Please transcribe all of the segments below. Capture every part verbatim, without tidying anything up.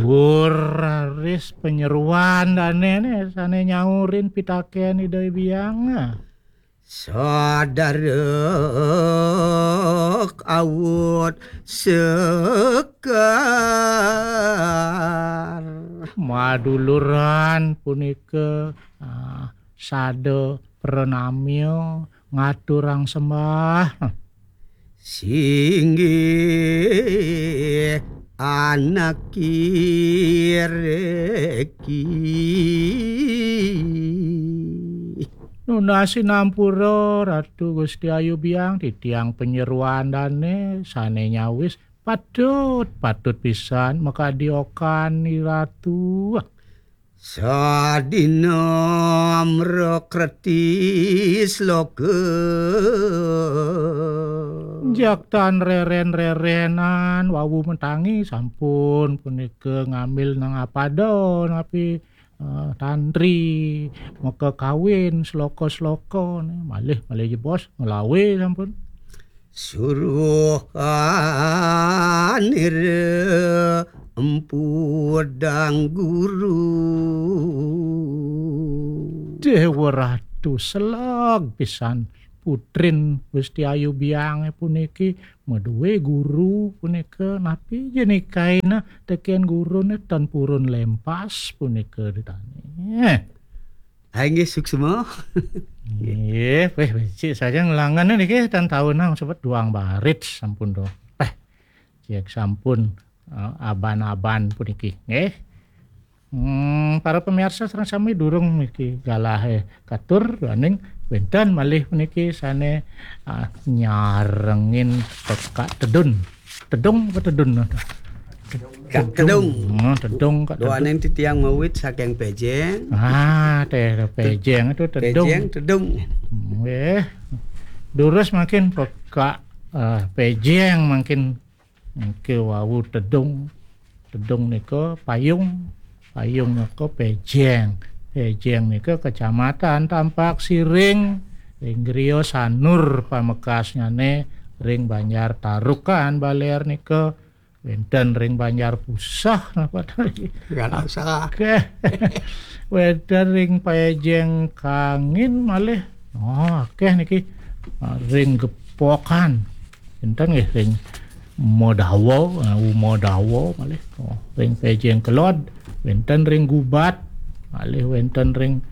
Wur raris panyeruan dane ne sane nyaurin pitaken Ida Hyang. Sadarek awut sekar. Maduluran punika, ah, sada pranamya ngaturang sembah. Singgih anak kireki. Nunas sinampura Ratu Gusti Ayu Biang, titiang panyeruan dane sane nyawis patut, patut pisan makadiokan ni Ratu. Sadina mrakreti sloka. Jak tan reren-rerenan wau mentangi sampun punika ngambil nang apada napi, eh, tantri maka kawin sloka-sloka ne. Malih, malih jebos nglawe sampun. Suruh anira empu dang guru. Dewa Ratu seleg pisan putrin Gusti Ayu Biange puniki maduwe guru punika, napi jenikaina teken gurune tan purun lempas punika ditani. Hai nggih suksma. Nggih, weh becik saja ngelangan niki tan taun nang sebet duang barit sampun do. Peh, cek sampun, eh, aban-aban puniki nggih. Hmm, para pemirsa sareng sami durung niki galahe katur, daning wenten malih puniki sane, ah, nyarengin pekak tedun. Tedung apa tedun? Kak Tedung. Tedung. Hmm, tedung, Kak Tedung. Duaning titiang mawit saking Pejeng. Ah, teh Pejeng itu tedung. Pejeng, Tedung. Nggih. Durus makin pekak, eh, Pejeng makin, nggih, wau tedung. Tedung nika payung. Payung nika Pejeng. Pejeng nika Kecamatan Tampak Siring. Ring griya Sanur pamekasnyane ring Banjar Tarukan Baler nika. Wenten ring Banjar Pusah napa tadi? Galah salah. Akeh. Wenten ring Pejeng Kangin malih. Oh, akeh niki. Ah, ring Gepokan. Wenten nggih ring Modawa, ah, Umodawa malih. Oh, ring Pejeng Kelod, wenten ring Gubat, malih wenten ring,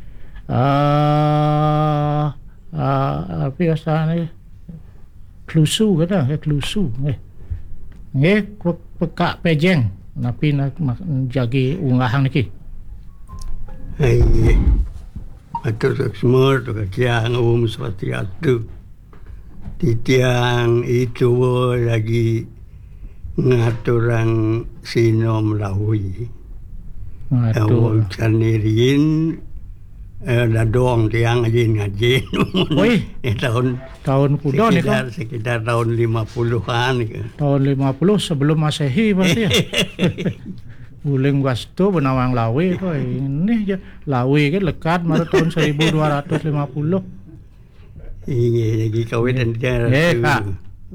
ah, ah, apa ya, Klusu kata, ya, Klusu, nggih. Nggih, pe-, pekak Pejeng. Napi nak mak-, jagi unggahang niki? Hai, nggih. Atur suksma, tu katiang, Om Swastiastu. Titiang itu lagi ngaturang sinom lawi. Ngatur. Awal sanirin, eh, dadong tiang ajin ngajin. Wih. Eh, tahun Tahun kuda nika? Sekitar, sekitar tahun lima puluhan nika. Tahun lima puluh sebelum Masehi berarti ya? Uling wastu benawang lawe to, ini ya. Lawe ke lekat mara tahun seribu dua ratus lima puluh. Inggih, lagi kawitan. Nggih, Kak.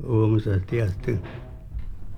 Om Swastiastu.